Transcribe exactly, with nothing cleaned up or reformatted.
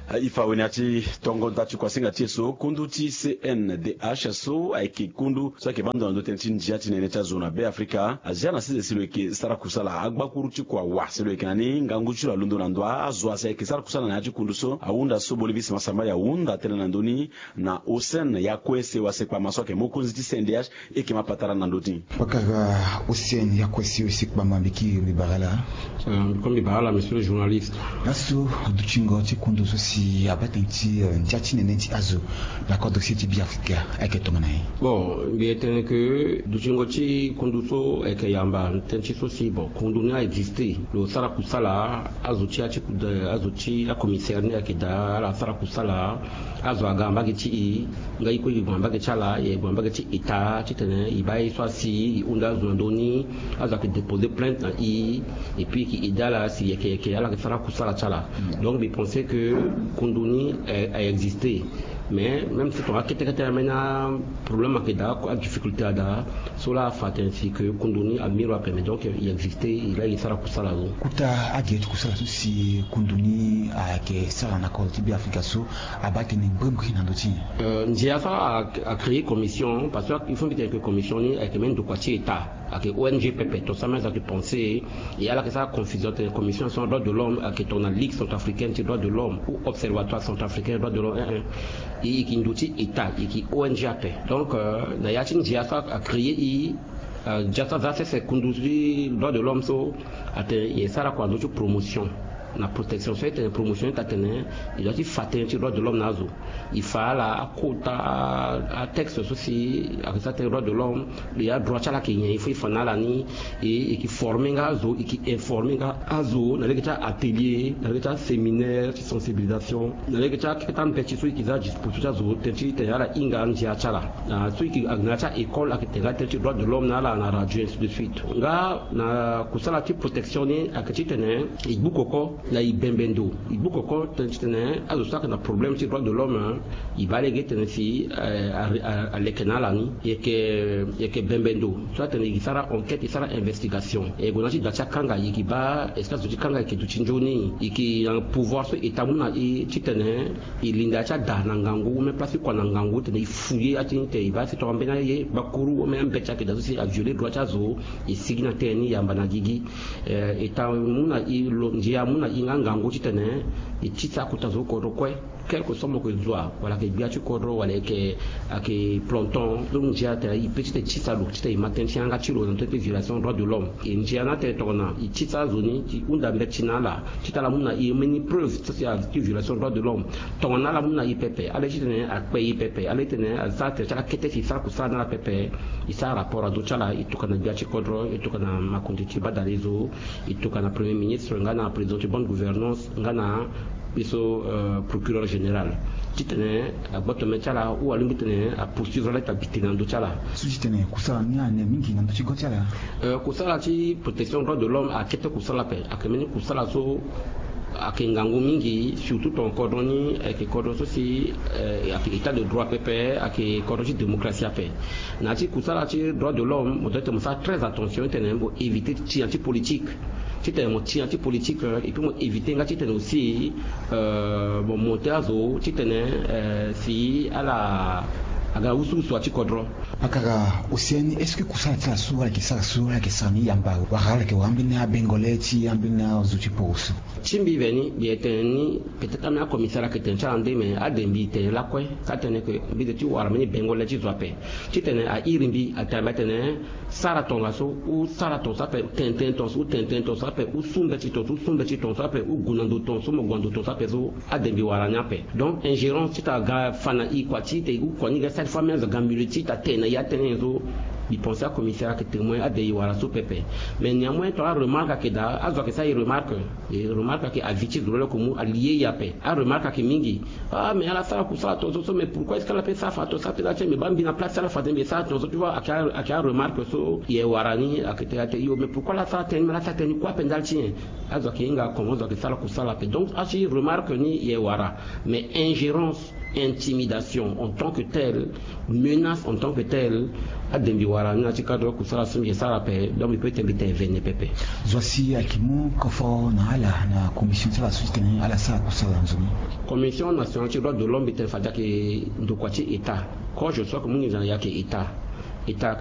E fa weni ya ti tongo nda ti kuasinga ti e so kundu ti C N D H so ayeke kundu so ayeke baa ndo na ndö tënë ti ndia ti nene ti azo na Be Afrika azia na sese si lo yeke sara kusala agbakuru ti kua wa si lo yeke na ni ngangu ti lo alondo na ndo azo asi ayeke sara kusala na ya ti kundu so ahunda so bolivis masambali ahunda tënë na ndö ni na Hussein Yakwesi wa sekpama so ayeke mokonzi ti C N D H. E yeke ma patara na ndö ti. Pakara Hussein Yakwesi wa sekpama mbi kiri mbi bara ala. Mbi bara ala monsieur le journaliste. Laso dutingo ti kundu so si abaa tënë ti ndia ti nene ti azo na kodro si ti Be Afrika ayeke tongana nyen? Bon, mbi ye tene ke dutingo ti kundu so ayeke yamba tënë ti so si bon kundu ni a existe lo sara kusala azo ti ya ti azo ti acommissaire ni ayeke daa ala sara kusala. Azo aga mbage ti e nga e kue e gue na mbage ti ala e gue na mbage ti état titene e baa ye so asi e hunda azo na ndö ni. Azo ayeke déposer plainte na e et puis e yeke aidé ala si e yeke ala yeke sara kusala ti ala. Donc mbi pense ke kundu ni a existe. Mais même si tonga kete kete ambeni aproblème ayeke daa adifficulté ada so laa afa tene si ke kundu ni amiro ape mais donc e existe e laa e sara kusala so. Kota agere ti kusala so si kundu ni ayeke sara na kodro ti Be Afrika so abaa tënë mbrimbri na ndö ti nyen? Ndia so acréer commission parce que il faut mbi tene ke commission ni ayeke même ndokua ti état. Ayeke O N G pepe tonga so ambeni azo ayeke pensé. E ala yeke sara confusion tene commission so na droit de l'homme ayeke tongana ligue centrafricaine ti droit de l'homme ou observatoire centrafricain droit de l'homme. E yeke ndo ti état e yeke O N G ape. Donc na ya ti ndia so acréer e ndia so aza sese kundu ti droit de l'homme so atene e sara kua na ndö ti promotion na protection so e tene promotion ni ta tene e doit ti fa tënë ti droit de l'homme na azo. E fa ala akota atexte so si ayeke sara tënë droit de l'homme. E adroit ti ala ayeke nyen il faut e fa na ala ni. E yeke former nga azo e yeke informer nga azo na lege ti atelier na lege ti aséminaire ti sensibilisation na lege ti akete ambeti so e yeke za disposition ti azo tënë ti tene ala hinga andia ti ala. So e yeke na ya ti a-école ayeke tene nga tënë ti droit de l'homme na ala na radio ainsi de suite. Nga na kusala ti protection ni ayeke titene e gbu koko na e bembe ndo. E gbu koko tënë titene azo so ayeke na problème ti droit de l'homme e baa lege tene si aleke na ala ni. E yeke bembe ndo so atene e sara enquête e sara investigation e gue na ti da ti akanga e yeke baa est-ce que azo ti kanga e yeke duti nzoni e yeke na pouvoir so état amu na e titene e linda ya ti ada na ngangu ou même place ti kua na ngangu titene e fouiller ya ti ni tene e baa si tongana mbeni aye gbakuru ou même ambeti ayeke daa so si avioler droit ti azo. E sigi na tënë ni yamba na gigi. État amu na e lo ndia amu na e nga ngangu titene e tisa akota zo kodro kue. Quelque soit mo yeke zo wa wala ayeke gbia ti kodro wala ayeke ayeke planton. Donc ndia atene e pe titene e tisa lo titene e ma tënë ti yanga ti lo na ndö ti violation droit de l'homme. E ndia ni atene tongana e tisa azo ni e hunda mbeti na ala titene ala mu na e mbeni preuve so si a ti violation droit de l'homme. Tongana ala mu na e pepe ala ye titene akpe e pepe ala ye titene asara tere ti ala kete si e sara kusala na ala pepe. E sara rapport na ndö ti ala e tokua na gbia ti kodro e tokua na makonzi ti badale zo. E tokua na premier ministre nga na président ti bonne gouvernance nga na mbi so procureur général titene agboto mê ti ala ou alingbi titene apoursuivre ala ita bi tene na ndö ti ala. So titene kusala ni ane mingi na ndö ti go ti ala. Kusala ti protection droit de l'homme akete kusala ape ayeke mbeni kusala so ayeke ngangu mingi surtout tonga kodro ni ayeke kodro so si ayeke état de droit pepe ayeke kodro ti démocratie ape. Na ya ti kusala ti droit de l'homme mo doit titene mo sara très attention titene mo éviter ti tia ti politique. Titene mo tia ti politique et puis mo éviter nga titene aussi mo monter azo titene si ala aga wusuwusu ya ti kodro. Pakara océan ni est-ce que kusala ti ala so ala yeke sara so ala yeke sara ni yamba wala ala yeke wara ambeni abengole ti ambeni azo ti poro so? Ti mbi veni mbi yeke tene ni peut-être ambeni akomisara ayeke tene ti ala nde mais ade mbi tene lakue ka tene ke mbi de ti wara mbeni bengole ti zo ape. Titene a iri mbi atene mbi atene sara tongaso ou sara tongaso ape tene tënë tongaso ou tene tënë tongaso ape ou su mbeti tongaso ou su mbeti tongaso ape ou gue na ndo tongaso mo gue na ndo tongaso ape so. Ade mbi wara ni ape. Donc ingérence ti ta ga fa na e kua ti te ou kua ni ga sali fo ambeni azo aga mbi le ti ta tene na e atene nyen so. Mbi pense akomisara ayeke témoin ade e wara so pepe. Mais néanmoins tonga aremarque ayeke daa azo ayeke sara e remarque. E remarque ayeke avis ti zo loloko mu alie e ape. Aremarque ayeke mingi. Ah mais ala sara kusala tongaso so mais pourquoi est-ce que ala pe sara fa tongaso ape da ti mais baa mbi na place ti ala fade mbi sara tongaso tu vois ayeke aremarque so. E wara ni ayeke te ate yo mais pourquoi ala sara tënë ni mais ala sara tënë ni kue ape ndali ti nyen? Azo ayeke hinga comment azo ayeke sara kusala ape donc asi remarque ni e wara. Mais ingérence, intimidation en tant que telle, menace en tant que telle. Adembi wara ni na ti kadro kusala so mbi yeke sara ape, donc mbi peut ti tene mbi tene vene pepe. Zo asi ayeke mu koforo na ala na commission ti ala so ti tene ala sara kusala na nzoni. Commission nationale ti droit de l'homme, mbi tene fade ayeke ndokua ti état. Quand je sois que mu nginza na ya ayeke état. État